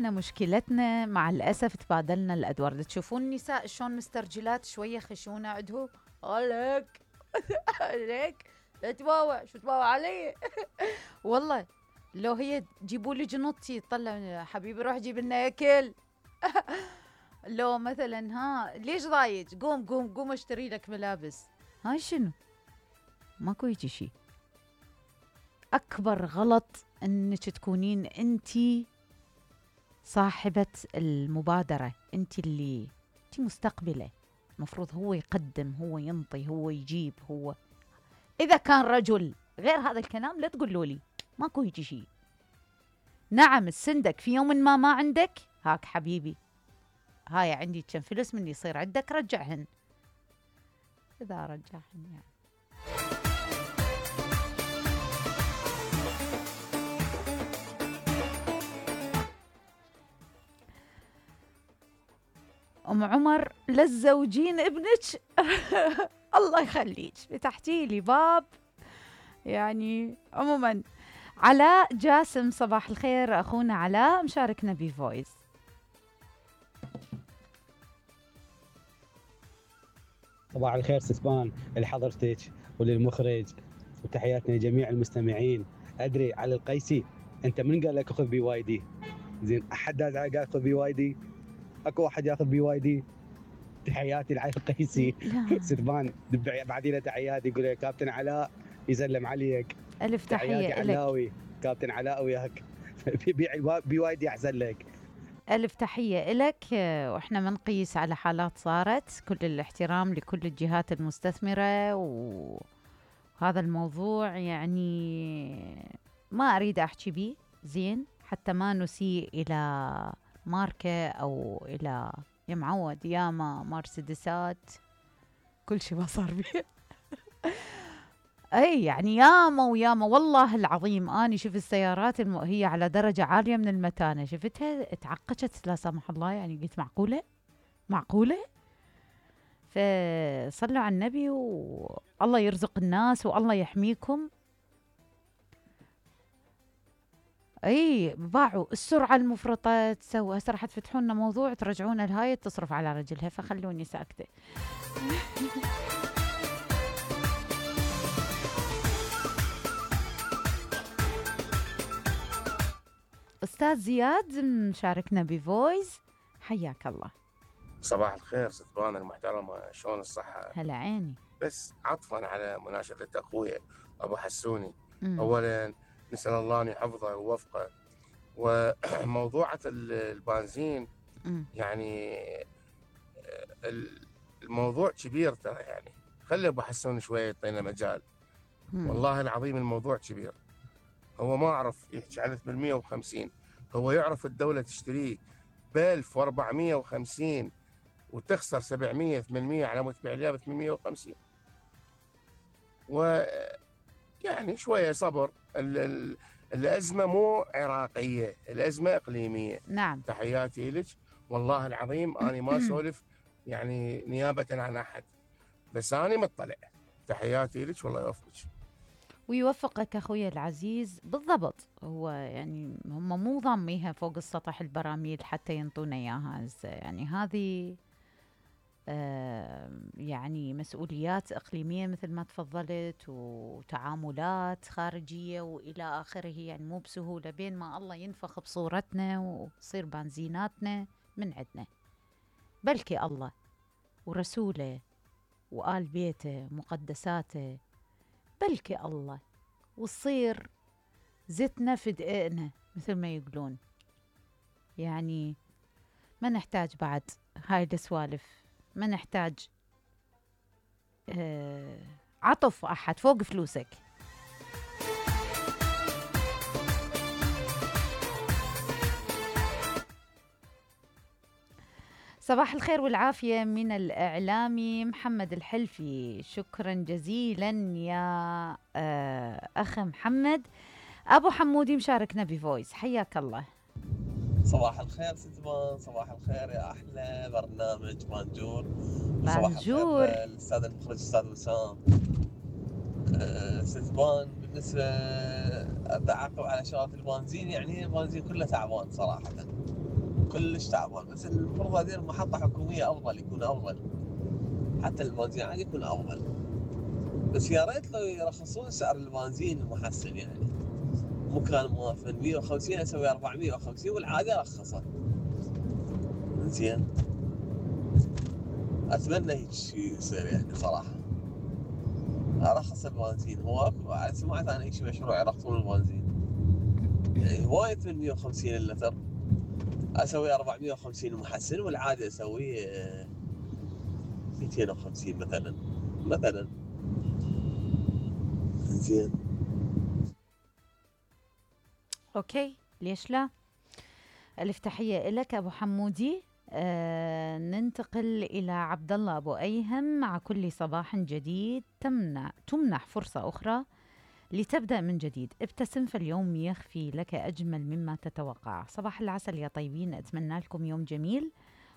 احنا مشكلتنا مع الأسف تبادلنا الأدوار. تشوفون النساء شلون مسترجلات شوية خشونة عندهم. عليك عليك لا تباوع، شو تباوع علي؟ والله لو هي جيبوا لي جنطتي طلع حبيبي روح جيب لنا اكل. لو مثلا ها ليش ضايج، قوم قوم قوم اشتري لك ملابس. هاي شنو؟ ماكو هيجي شي. اكبر غلط انك تكونين انتي صاحبة المبادرة، انتي اللي انتي مستقبلة، مفروض هو يقدم، هو ينطي، هو يجيب. هو اذا كان رجل غير هذا الكلام لا تقولوا لي، ماكو هيجي شي. نعم السندك في يوم ما عندك، هاك حبيبي هاي عندي كم فلوس من يصير عندك رجعهن، اذا رجعهن يعني. ام عمر للزوجين ابنك. الله يخليك فتحتي لي باب. يعني عموما علاء جاسم صباح الخير اخونا علاء مشاركنا بفويس. صباح الخير ستبان لحضرتك وللمخرج، وتحياتنا لجميع المستمعين. ادري على القيسي، انت من قال لك خذ بي واي دي؟ زين احد قال خذ بي واي دي؟ اكو واحد ياخذ بي واي دي؟ تحياتي لعلي القيسي. ستبان بعدين تحياتي يقول لك كابتن علاء يسلم عليك. الف تحيه لك علاوي، كابتن علاء وياك. بيع بي واي دي احسن لك. ألف تحية إلك. وإحنا منقيس على حالات صارت. كل الاحترام لكل الجهات المستثمرة، وهذا الموضوع يعني ما أريد أحكي بيه زين حتى ما نسيء إلى ماركة أو إلى معود ياما مرسيدسات كل شيء ما صار بيه. اي يعني ياما وياما والله العظيم اني شفت السيارات هي على درجه عاليه من المتانه، شفتها اتعقجت لا سمح الله. يعني قلت معقوله. فصلوا على النبي والله يرزق الناس والله يحميكم. اي باعوا السرعه المفرطه تسوى. هسه راح تفتحوا لنا موضوع ترجعون الهاي تصرف على رجلها، فخلوني ساكته. أستاذ زياد مشاركنا بفويس، حياك الله. صباح الخير ستبان المحترمة، شلون الصحة؟ هلا عيني. بس عطفا على مناشدة أخويا أبو حسوني، أولا نسأل الله أن يحفظه ووفقه. وموضوعة البنزين يعني الموضوع كبير ترى، يعني خلي أبو حسوني شوية يعطينا مجال. والله العظيم الموضوع كبير. هو ما عرف يحكي عن 850، هو يعرف الدولة تشتريه ب 1450 وتخسر 700 800 على مود تبيع لها ب 850. ويعني شوية صبر. الأزمة مو عراقية، الأزمة إقليمية. نعم. تحياتي لك والله العظيم، أنا ما سولف يعني نيابة عن أحد، بس أنا مطلع. تحياتي لك والله يوفقك ويوفقك أخوي العزيز. بالضبط، هو يعني هم مو ضاميها فوق السطح البراميل حتى ينطونا إياها. يعني هذه يعني مسؤوليات إقليمية مثل ما تفضلت، وتعاملات خارجية وإلى آخره. يعني مو بسهولة بين ما الله ينفخ بصورتنا وتصير بنزيناتنا من عندنا، بلكي الله ورسوله وآل بيته مقدساته، بلكي الله وتصير زتنا في دقيقنا مثل ما يقولون. يعني ما نحتاج بعد هاي السوالف، ما نحتاج عطف أحد فوق فلوسك. صباح الخير والعافية من الإعلامي محمد الحلفي. شكرا جزيلا يا أخ محمد. أبو حمودي مشاركنا بفويس، حياك الله. صباح الخير ستبان، صباح الخير يا أحلى برنامج بانجور. صباح الخير الأستاذ المخرج أستاذ وسام. ستبان بالنسبة أعقب على شغلة البنزين، يعني البنزين كله تعبان صراحة. كلش تعبان. بس المفروض هذه المحطة حكومية أفضل، يكون أفضل، حتى البنزين عادي يكون أفضل. بس يا ريت لو يرخصون سعر البنزين المحسن، يعني مو كان موافق 150 اسوي 450 والعادي ارخصه. زين اتمنى هيك شيء يصير يعني صراحه، ارخص البنزين. هو اكو سمعت عن هيك مشروع يرخصون البنزين، يعني وايد من 150 اللتر اسوي 450 محسن والعادي اسوي 250 مثلا. زين اوكي، ليش لا. الف تحيه لك ابو حمودي. ننتقل الى عبد الله ابو ايهم. مع كل صباح جديد تمنح فرصه اخرى لتبدا من جديد. ابتسم فاليوم يخفي لك اجمل مما تتوقع. صباح العسل يا طيبين، اتمنى لكم يوم جميل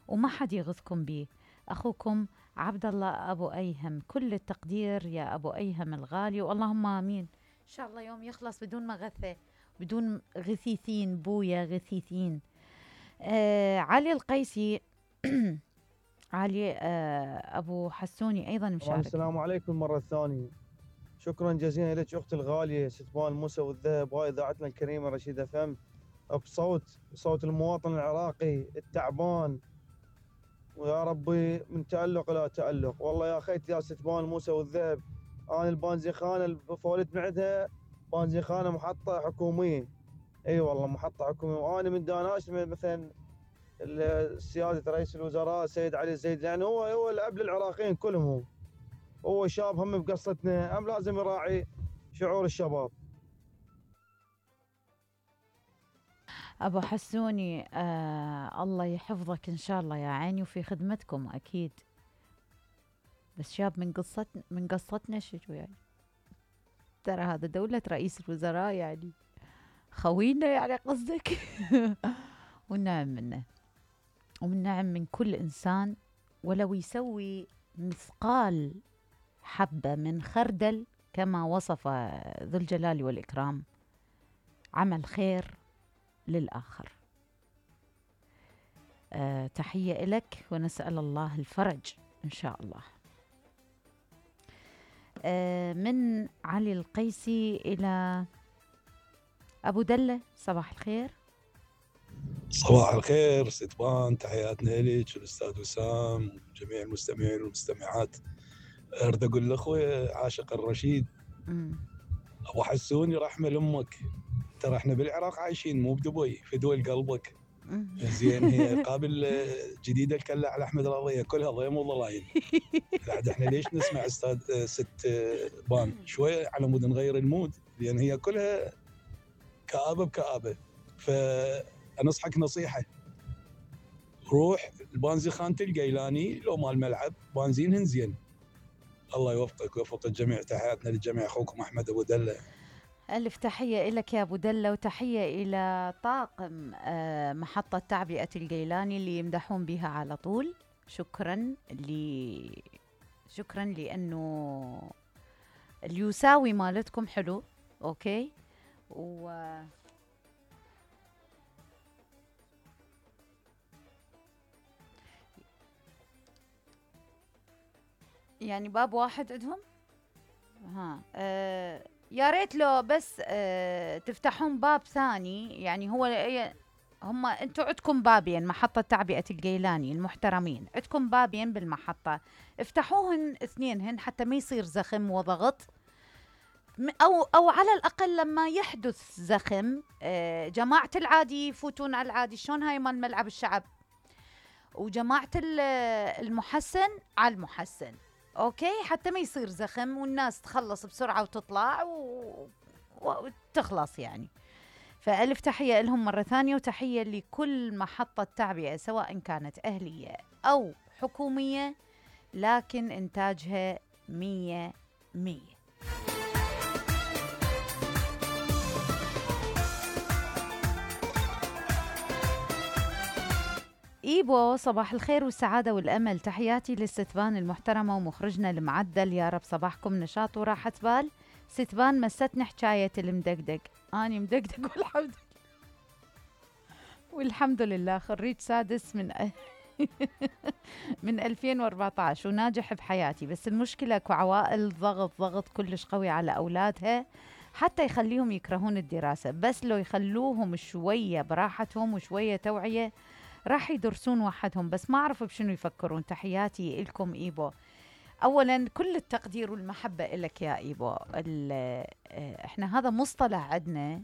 وما حد يغثكم به. اخوكم عبد الله ابو ايهم. كل التقدير يا ابو ايهم الغالي، واللهم امين. ان شاء الله يوم يخلص بدون مغثه، بدون غثيثين بويا غثيثين. علي القيسي علي ابو حسوني ايضا مشارك. السلام عليكم مره ثانيه. شكرا جزيلا لك اختي الغاليه ستبان موسى والذهب، وهاي اذاعتنا الكريمه رشيد اف ام، بصوت المواطن العراقي التعبان، ويا ربي من تألق الى تألق. والله يا خيتي يا ستبان موسى والذهب، انا البنزيخانه اللي فولت من عندها بنزيخانه محطه حكوميه. اي والله محطه حكوميه، وانا من داناش مثلا سياده رئيس الوزراء سيد علي الزيد، يعني هو الاب للعراقيين كلهم. هو شاب هم بقصتنا، هم لازم يراعي شعور الشباب. ابو حسوني الله يحفظك ان شاء الله يا عيني، وفي خدمتكم اكيد. بس شاب من قصتنا شو يعني؟ ترى هذا دولة رئيس الوزراء يعني خوينا يعني قصدك. والنعم منه، والنعم من كل إنسان ولو يسوي مثقال حبة من خردل كما وصف ذو الجلال والإكرام، عمل خير للآخر. تحية لك ونسأل الله الفرج إن شاء الله. من علي القيسي إلى أبو دلة. صباح الخير. صباح الخير ستبان، تحياتنا لك والأستاذ وسام وجميع المستمعين والمستمعات. أريد أقول لأخوي عاشق الرشيد أبو حسوني رحمة لأمك، ترى احنا بالعراق عايشين مو بدبي، في دول قلبك. زين هي قابل جديدة الكلة على أحمد القضية كلها ضيم وضلايل. بعد احنا ليش نسمع أستاذ ست بان شوية على مود نغير المود، لأن هي كلها كآبة بكآبة. فأنصحك نصيحة، روح البنزين خانة القيلاني لو مال ملعب بنزينهن زين. الله يوفقك ويوفق الجميع. تحياتنا للجميع، أخوكم أحمد أبو دلة. ألف تحية لك يا أبو دلة، وتحية إلى طاقم محطة تعبئة القيلاني اللي يمدحون بها على طول. شكرا لأنه اليساوي مالتكم حلو. أوكي. يعني باب واحد عندهم. يا ريت لو بس تفتحون باب ثاني. يعني هم انتم عندكم بابين، محطة تعبئة القيلاني المحترمين عندكم بابين بالمحطة، افتحوهن اثنينهن حتى ما يصير زخم وضغط، او على الاقل لما يحدث زخم جماعة العادي يفوتون على العادي. شلون هاي مال ملعب الشعب، وجماعة المحسن على المحسن. اوكي، حتى ما يصير زخم والناس تخلص بسرعة وتطلع وتخلص يعني. فألف تحية لهم مرة ثانية، وتحية لكل محطة تعبئة سواء كانت أهلية أو حكومية، لكن إنتاجها 100%. إيبو، صباح الخير والسعادة والأمل. تحياتي للستبان المحترمة ومخرجنا المعدل، يا رب صباحكم نشاط وراحة بال. ستبان مستني حكاية المدقدق، أنا مدقدق والحمد لله والحمد لله خريج سادس من 2014 وناجح بحياتي. بس المشكلة اكو عوائل ضغط كلش قوي على أولادها حتى يخليهم يكرهون الدراسة. بس لو يخلوهم شوية براحتهم وشوية توعية راح يدرسون وحدهم. بس ما أعرف بشنو يفكرون. تحياتي إلكم إيبو. أولا كل التقدير والمحبة إلك يا إيبو. إحنا هذا مصطلح عندنا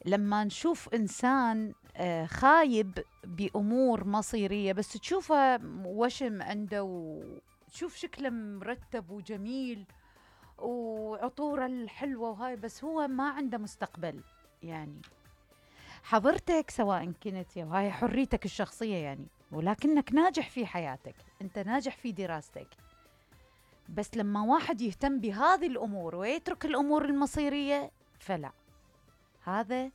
لما نشوف إنسان خايب بأمور مصيرية، بس تشوفه وشم عنده وتشوف شكله مرتب وجميل وعطوره الحلوة وهاي، بس هو ما عنده مستقبل. يعني حضرتك سواء كنت، وهاي حريتك الشخصية يعني، ولكنك ناجح في حياتك، أنت ناجح في دراستك. بس لما واحد يهتم بهذه الأمور ويترك الأمور المصيرية فلا، هذا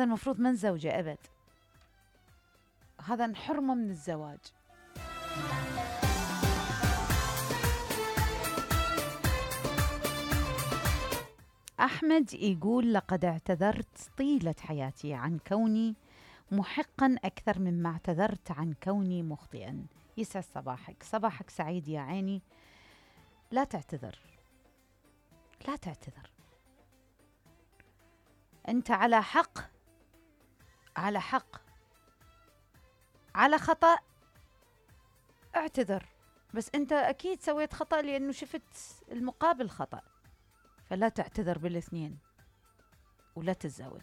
المفروض من زوجة أبد، هذا نحرمه من الزواج. أحمد يقول لقد اعتذرت طيلة حياتي عن كوني محقا أكثر مما اعتذرت عن كوني مخطئا. يسعد صباحك، صباحك سعيد يا عيني. لا تعتذر، لا تعتذر، أنت على حق، على حق، على خطأ اعتذر. بس أنت أكيد سويت خطأ لأنه شفت المقابل خطأ، فلا تعتذر بالاثنين ولا تتزوج.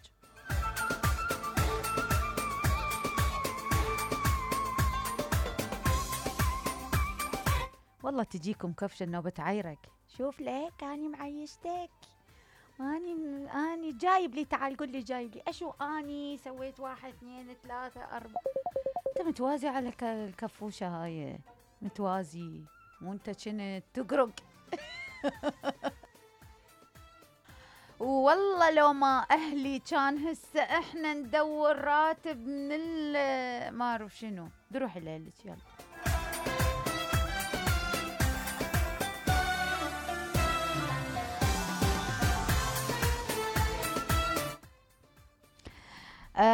والله تجيكم كفشة النوبة عيرك. شوف لك أني معيشتك، أني جايب لي، تعال قل لي جايب لي أشو أني سويت 1 2 3 4. أنت متوازي على الكفوشة هاي، متوازي وأنت كنت تقرق. والله لو ما أهلي كان هسه إحنا ندور راتب من ما أعرف شنو. بروحي ليلك يلا.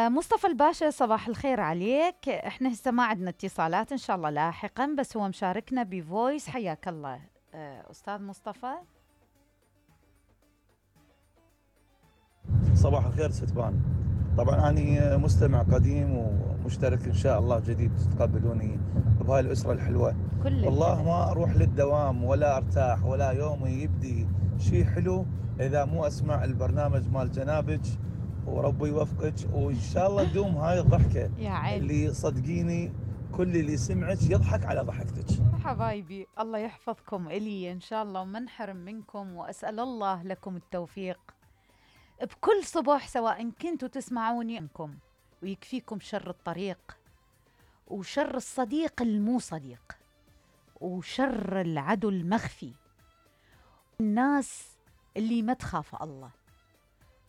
مصطفى الباشا صباح الخير عليك. احنا هسه ما عندنا اتصالات، ان شاء الله لاحقا، بس هو مشاركنا بفويس. حياك الله استاذ مصطفى. صباح الخير ستبان. طبعا أنا مستمع قديم ومشترك إن شاء الله جديد، تتقبلوني بهاي الأسرة الحلوة. والله ما أروح للدوام ولا أرتاح ولا يومي يبدي شيء حلو إذا مو أسمع البرنامج مال جنابك، وربي يوفقك وإن شاء الله تدوم هاي الضحكة يا عيني. اللي صدقيني كل اللي سمعك يضحك على ضحكتك. حبايبي الله يحفظكم إلي إن شاء الله وما نحرم منكم، وأسأل الله لكم التوفيق بكل صبح سواء كنتوا تسمعوني منكم، ويكفيكم شر الطريق وشر الصديق المو صديق وشر العدو المخفي، الناس اللي ما تخاف الله،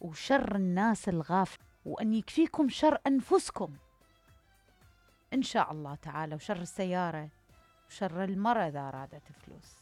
وشر الناس الغافل، وأن يكفيكم شر أنفسكم إن شاء الله تعالى، وشر السيارة وشر المرأة إذا أرادت فلوس.